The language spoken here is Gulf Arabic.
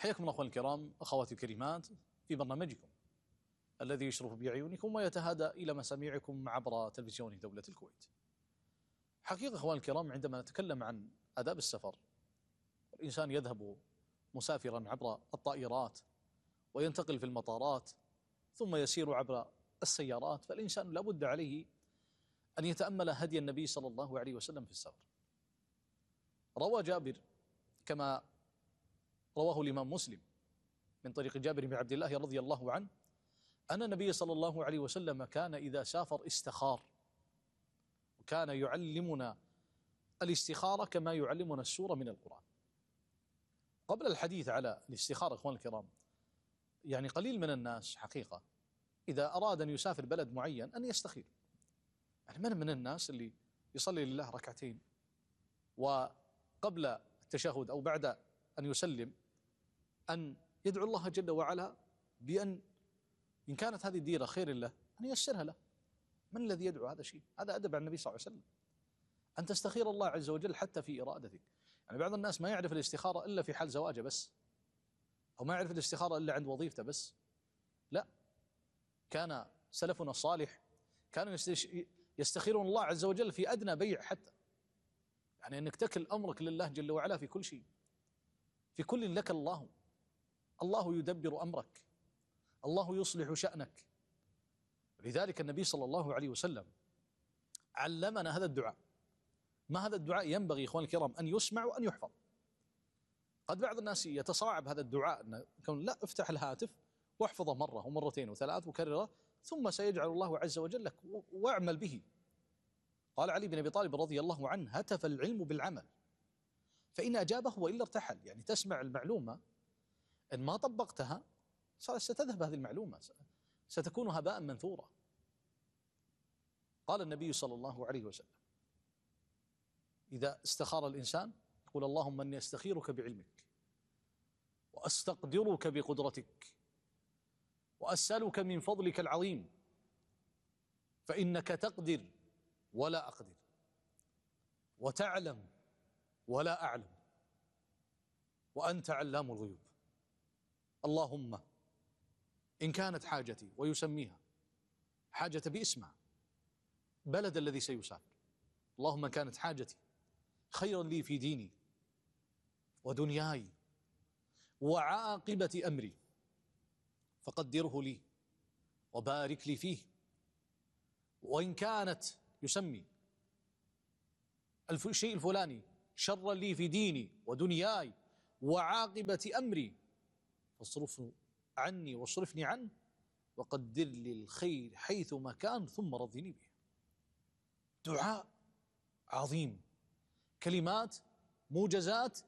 حياكم الله أخواني الكرام، أخواتي الكريمات، في برنامجكم الذي يشرف بعيونكم ويتهادى إلى مسامعكم عبر تلفزيون دولة الكويت. حقيقة أخواني الكرام، عندما نتكلم عن آداب السفر، الإنسان يذهب مسافرا عبر الطائرات وينتقل في المطارات ثم يسير عبر السيارات، فالإنسان لابد عليه أن يتأمل هدي النبي صلى الله عليه وسلم في السفر. روى جابر كما رواه الإمام مسلم من طريق جابر بن عبد الله رضي الله عنه أن النبي صلى الله عليه وسلم كان إذا سافر استخار، وكان يعلمنا الاستخارة كما يعلمنا السورة من القرآن. قبل الحديث على الاستخارة أخوان الكرام، يعني قليل من الناس حقيقة إذا أراد أن يسافر بلد معين أن يستخير. يعني من الناس اللي يصلي لله ركعتين وقبل التشهد أو بعد أن يسلم أن يدعو الله جل وعلا بأن إن كانت هذه الديرة خير له أن ييسرها له. من الذي يدعو هذا شيء؟ هذا أدب عن النبي صلى الله عليه وسلم، أن تستخير الله عز وجل حتى في إرادتك. يعني بعض الناس ما يعرف الاستخارة إلا في حال زواجه بس، أو ما يعرف الاستخارة إلا عند وظيفته بس. لا، كان سلفنا الصالح كانوا يستخيرون الله عز وجل في أدنى بيع حتى، يعني أنك تكل أمرك لله جل وعلا في كل شيء، في كل لك الله يدبر أمرك، الله يصلح شأنك. لذلك النبي صلى الله عليه وسلم علمنا هذا الدعاء. ما هذا الدعاء ينبغي إخواني الكرام أن يسمع وأن يحفظ. قد بعض الناس يتصاعب هذا الدعاء، أن لا، افتح الهاتف واحفظه مرة ومرتين وثلاث وكرره، ثم سيجعل الله عز وجل لك، واعمل به. قال علي بن أبي طالب رضي الله عنه: هتف العلم بالعمل فإن أجابه وإلا ارتحل. يعني تسمع المعلومة، إن ما طبقتها ستذهب هذه المعلومة، ستكون هباء منثورا. قال النبي صلى الله عليه وسلم: إذا استخار الإنسان يقول: اللهم إني أستخيرك بعلمك، وأستقدرك بقدرتك، وأسألك من فضلك العظيم، فإنك تقدر ولا أقدر، وتعلم ولا أعلم، وأنت علام الغيوب. اللهم إن كانت حاجتي، ويسميها حاجة باسمها، بلد الذي سيسافر، اللهم إن كانت حاجتي خيرا لي في ديني ودنياي وعاقبة أمري فقدره لي وبارك لي فيه، وإن كانت يسمي الشيء الفلاني شرا لي في ديني ودنياي وعاقبة أمري فاصرفه عني واصرفني عنه وقدر لي الخير حيث ما كان ثم رضني به. دعاء عظيم، كلمات موجزات